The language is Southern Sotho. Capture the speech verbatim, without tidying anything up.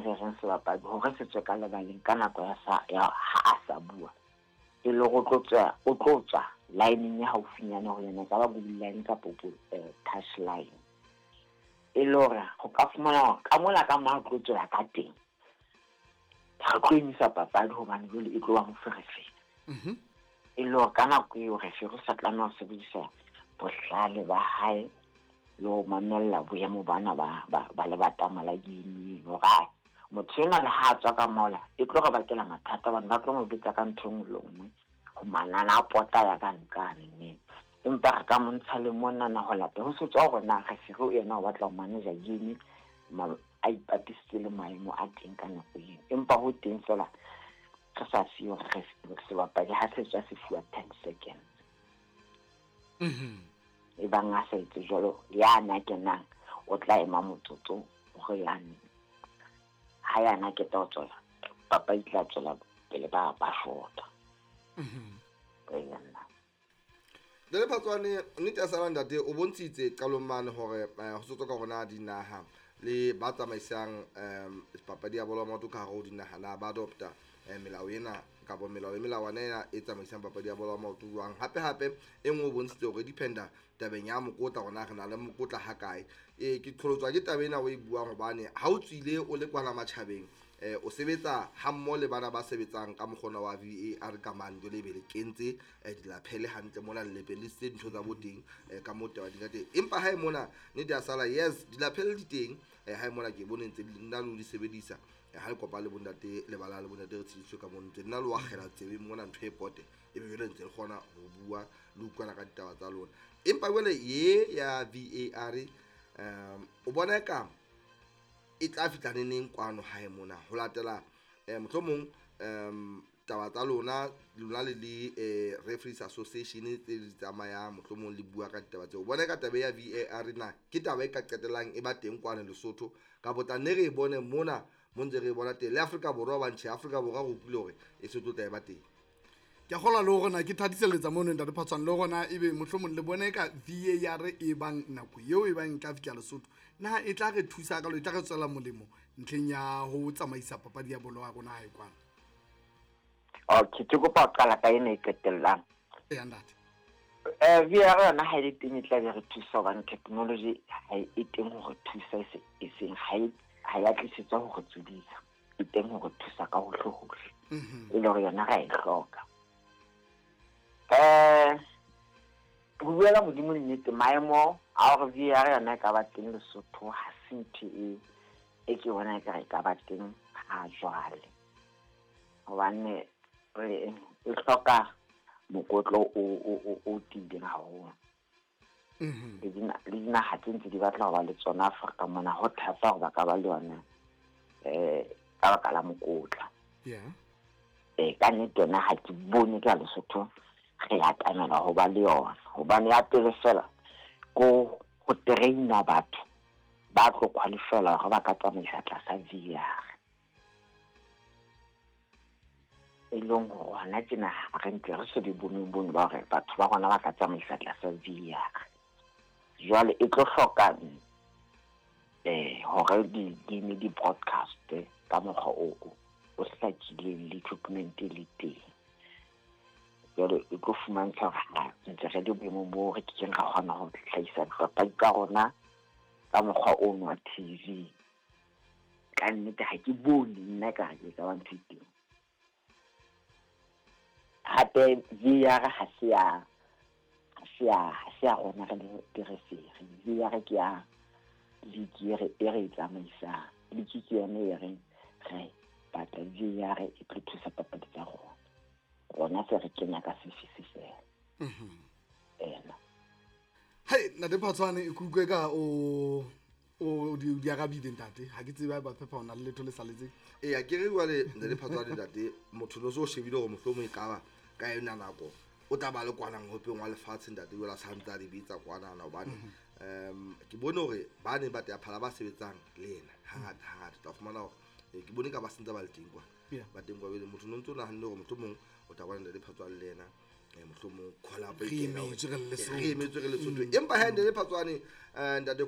re reng sebapadi hore se tswe ka lebaleng ka nako ya sa ya ha a sa bua e le hore o tlo tswa o tlo tswa line ya haufinyana ho yena, ka ba goal line kapa touch line, e le hore ho ka fumana hore ka mola ka mo tlo tswela ka teng re tlo emisa papadi hobane jwale e tlo ba moferefere. Mhm. E le hore ka nako eo referee o sa tlameha ho sebedisa bohlale ba hae le ho mamella boemo bana ba ba ba lebatama la game hore ai motho enwa le ha a tswa ka mola e tlo re bakela mathata hobane ba tlo mo betsa ka ntho e nngwe le nngwe ho manana a pota ya ka nqane mme empa re ka mo ntsha le monana ho lata ho se tswa hore na referee yena o batla ho manager game a ipapisitse le maemo a teng ka nako eo, empa ho teng fela re sa siyo hore sebapadi ha se tswa se fuwa ten seconds. Mhm. E bang a sa etse jwalo ya na kenang o tla ema motsotso hore yane ha yana ke tla tswela papadi tla tswela pele ba ba shota. Mhm. Ee, nna. Ntate Phatsoane, nnete ya sala ntate o bontshitse qalong mane hore eh, ho sotswa ka hore na dinaha le ba tsamaisang um papadi ya bolo ya maoto ka hare ho dinaha na ba adopta eh, melao ena kapa melao le melawana ena e tsamaisang papadi ya bolo ya maoto jwang. Hape hape e nngwe o bontshitse hore dependa tabeng ya mokotla hore na re na le mokotla ha kae. E ke qholotswa ke taba ena o e buang hobane ha o tswile o le kwana matjhabeng eh, o sebetsa hammoho le bana ba sebetsang ka mokgona wa V A R ka mane jwale ebe le kentse eh, dilaphele hantle mona le lepelisitse dintho tsa bo teng eh, ka moo taba di ka teng. Empa ha e mona nnete ya sala yes dilaphele di teng eh, ha e mona ke bone ntse nna le ho di sebedisa eh, ha le kopa le bontate lebala le bontate re tshediswe ka mono ntse nna le wakgela tsebeng mona ntho e pote ebe jwale ntse le kgona ho bua le utlwana ka ditaba tsa lona. Empa jwale ye ya V A R um o bona eka e tla fihla neneng kwano hae mona ho latela eh, mohlomong um taba tsa lona lona le le eh, Referees Association tse di tsamayang mohlomong le bua ka ditaba tseo. O bona ka taba ya V A R na ke taba e ka qetellang e ba teng kwano Lesotho kapa tla nne re e bone mona mo ntse re e bona teng le Afrika Borwa ba ntjhe Afrika Borwa re utlwile hore e se tlo tla e ba teng. Ke a kgolwa le hore na ke thatiselletsa mono ntate Phatsoane le hore na ebe mohlomong le bone ka V A R e bang nako eo e bang e tla fihla Lesotho na e tla re thusa ka lo e tla re tswela molemo ntlheng ya ho tsamaisa papadi ya bolo ya rona hae kwana. Okay, ke kopa ho qala ka ena e qetellang. Eya, ntate. Eh, V A R yona ha e le teng e tla be re thusa hobane technology ha e teng ho re thusa e se, e seng ha e, ha ya tlisetswa ho re tsodisa, e teng ho re thusa ka hohle hohle. Mhm. E le hore yona ra e hloka. Eh, ho bua ka Modimo nnete, maemo a hore V A R yona e ka ba teng Lesotho ha se ntho e, e ke bona ekare e ka ba teng ha jwale. Hobane re, e hloka mokotlo o, o, o, o tiileng haholo. Mhm. Le dina-, le dinaha tse ntse di batla ho ba le tsona Afrika mona, ho thata hore ba ka ba le yona, eh, ka baka la mokotla. Yeah. Eh, ka nnete yona ha ke bone ka Lesotho re atamela ho ba le yona. Hobane ya pele fela ko ho train-a batho ba tlo qualify-ela hore ba ka tsamaisa tlasa V A R. E leng hore hona tjena ha re ntse re so di boneng bono ba hore batho ba rona ba ka tsamaisa tlasa V A R. Jwale e tlo hloka, eh, hore di game di broadcast ka mokgwa o, o, o hlakileng le equipment e le teng. Jwale e tlo fumantsha hore ha ntse re le boemong bo re kekeng ra kgona ho hlahisa dipapadi tsa rona ka mokgwa ono wa T V. Ka nnete ha ke bone nna ka re ke ka ba ntho e teng. Hape V A R ha se ya, ha se ya, ha se ya rona re le di-referee. V A R ke ya league e re, e re e tsamaisang. League ke yone e reng re batla V A R e tlo thusa papadi tsa rona. Rona se re kenya ka sefisi fela. Mhm. Ena. Hei, ntate Phatsoane, ke utlwe ka o, o di, di arabile ntate. Ha ke tsebe haeba Phepha o na le letho le saletseng. Eya, ke re jwale ntate Phatsoane ntate, motho no so shebile hore mohlomong e ka ba ka yona nako o tla ba le kwana ngopeng wa lefatshe ntate, jwale a sa ntse a di bitsa kwanana hobane, Mhm. um, ke bone hore ba neng ba tea phala ba sebetsang le yena hangata hangata o tla fumana hore, eh, ke bone ka ba sentse ba le teng kwana. Yeah. Ba teng kwa bele, motho no ntso nahanne hore mohlomong o tla bona ntate Phatsoane le yena, eh, mohlomong call up e Re kena emetswe re le hore, Lesotho. re emetswe re le Lesotho. Mm. Empa ha ntate Phatsoane, eh, ntate